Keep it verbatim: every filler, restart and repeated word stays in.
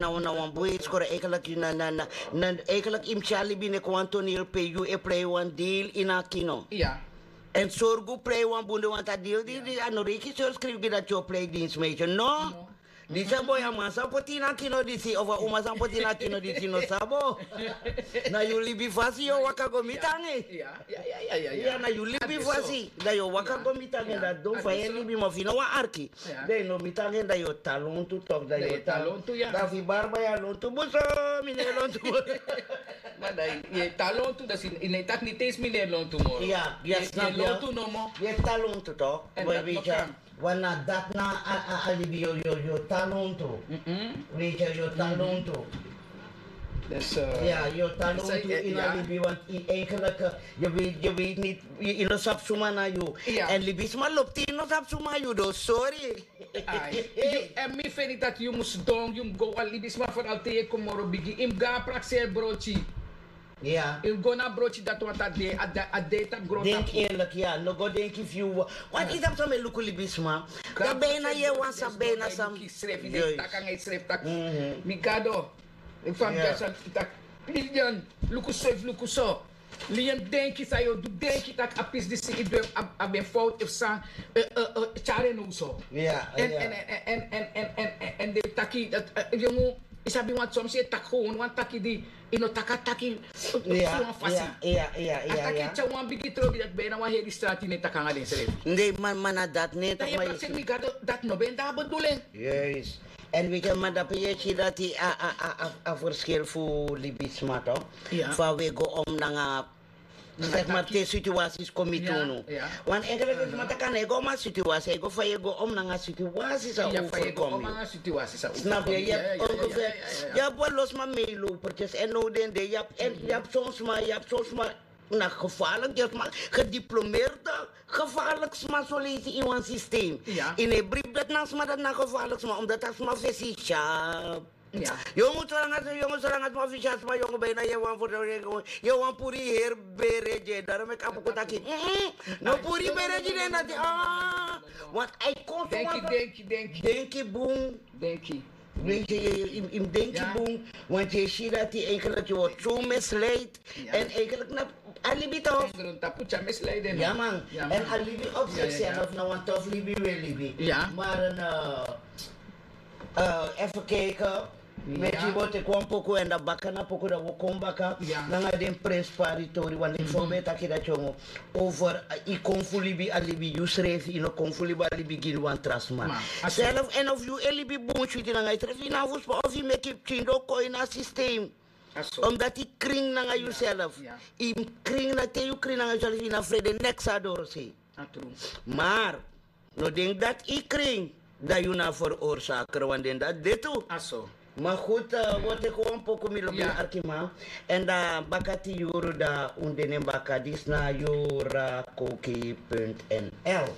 na wan bun e skoro. Eigenlijk yu na na na na eigenlijk yu mus tyari libi neki wan toneel pe yu e prei wan deel ini a kino. En sorgu prei wan bun de want a deel di a no reiki sorgu skrifi gi dati yu o prei dinsmeisje no. Disi a boi a man san poti ini a kino disi of a uma san poti ini a kino disi no sabo. Na yu libi fasi yu o waka go miti ange. Ya na yu libi fasi dan yu o waka go miti ange dan don fa yu e libi ma fu yu no wan arki. Dan yu no miti ange dan yu o tan lontu tok dan yu o tan lontu. Dan fu yu barba yu a lontu buso. Mi no e lontu buso. Ma dan yu e tan lontu dan yu no e taki niti ensi mi no e lontu moro. Yu e tan lontu tok. Wan na dati na a libi yu o tan lontu. Weet yu yu o tan lontu. Ya yu o tan lontu ini a libi want yu eigenlik yu weet niti yu no sabi suma na yu. Èn libisma lobi te yu no sabi suma yu don sori. Èn mi feni dati yu mus don yu mus go wan libisma feral te yu e kon moro bigi yu mus go na prakseri broti. Yu mus go na broti dati want a de a de tapu grontapu. Denki eerlik ya no go denki fu yu. Want yu sabi san mi e luku libisma. Dan ben na yu e wan sabi ben na san. Srefi den taki nanga yu srefi taki mi gado. Eki fa mi ben san taki. Lilian, luku so efu luku so. Lilian denki san yu o du denki taki a pisi disi yu du en a ben fowtu efu san. Tyari en now so. Èn den taki yongu. Yu sabi wan somsi e taki gewon wan taki di yu no taki a taki. Fu wan fasi. A taki tyari wan bigi trobi dati ben na wan heri strati yu no e taki nanga den srefi. Nei man man na dati no e taki ma yu si mi gado. Dati no ben de a bedoeling. Èn wi ken man dape yu e si dati a a a a a verschil fu libisma tok. Fa wi e go om nanga. Seki ma te situasis kon miti unu. Wan enkel seki ma taki a no e go om a situasis a e go fa yu e go om nanga situasis a overkomi. Snap yu yu abi ongefer. Yu abi wan lo sma meilow perkes èn now den de yu abi son sma yu abi son sma. Na gefarlik yu sma gediplomeerde gefarlik sma soleisi in wan systeem. In e bribi dati na sma dati na gefarlik sma omdat a sma fesi sharp. Yongu solanga sma fisi a sma yongu ben na yu e wan puri heri bere gi en daro meki a puku taki. No puri bere gi den dati. Want a e kon so wan denki bun. Denki. Weet yu yu mus denki bun. Want yu e si dati eigenlik yu word so misleid. Èn eigenlik na a libi tok. Grontapu tyari misleid en. Ya man. Èn a libi op sikself na wan tof libi wi e libi. Mar en efu keke. Meti bo teki wan poku èn dan baka na poku dan wi o kon baka. Nanga den prenspari tori wan den fu ben e taki dati yongu. Over yu kon fu libi a libi yusrefi yu no kon fu libi a libi gi wan tra sma. Self èn of yu e libi bun switi nanga yusrefi yu na fu sma of yu meki yu pikin don kon ini a sistem. Omdat yu kring nanga yusrefi. Yu kring na te yu kring nanga yusrefi yu na frede neks a dorosei. Mar no denki dati yu kring dan yu na a ferorsaker wan den dati de tu. Ma gudu, wi o teki wan poku mi lobi arkiman. Èn dan baka tin yuru dan un de nen baka disi na yura koki punt nl.